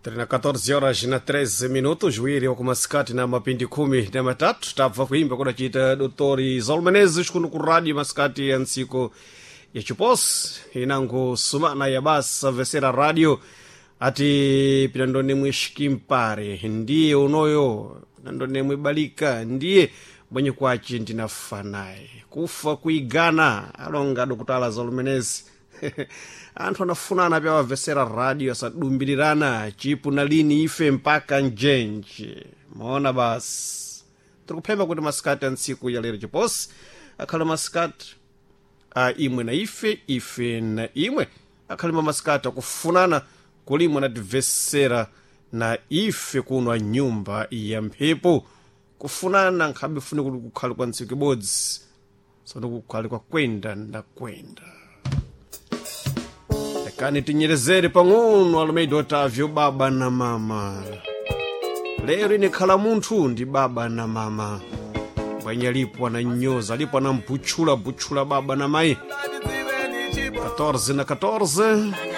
Tiri na 14 horas na 13 minutos, juiri wakumasikati na mapindi 13, tabva kuimba kudacita Dr Zolmenezes kuno ku rádio masikati ya ntsiku ya chiposi inango sumana ya basa vesera rádio ati pinandonemwe xikimpare ndiye unoyo pinandonemwe balika ndiye mwenye kwaci ndinafa naye kufa kuigana alonga dokutala Zolmenezi. Anthu anafunana pya wavesera radio asadumbilirana chipu na lini ife mpaka njenje maona. Basi tikuphemba kuti masikati a ntsiku ya lero chiposi akhale masikati a imwe na ife, ife na imwe, akhale mamasikati akufunana kulimwe nativesera na ife kuno a nyumba ya mphepo. Kufunana nkhabe fune kuti kukhale kwa ntsiku ibodzi, tsono kukhale kwa kwenda na kwenda. Kani tinyerezere pang'ono Almeida Otavio, baba na mama. Lero ine khala munthu ndi baba na mama bwenye alipo ananyoza, alipo anambutchula butchula baba na mayi. 14 na 14.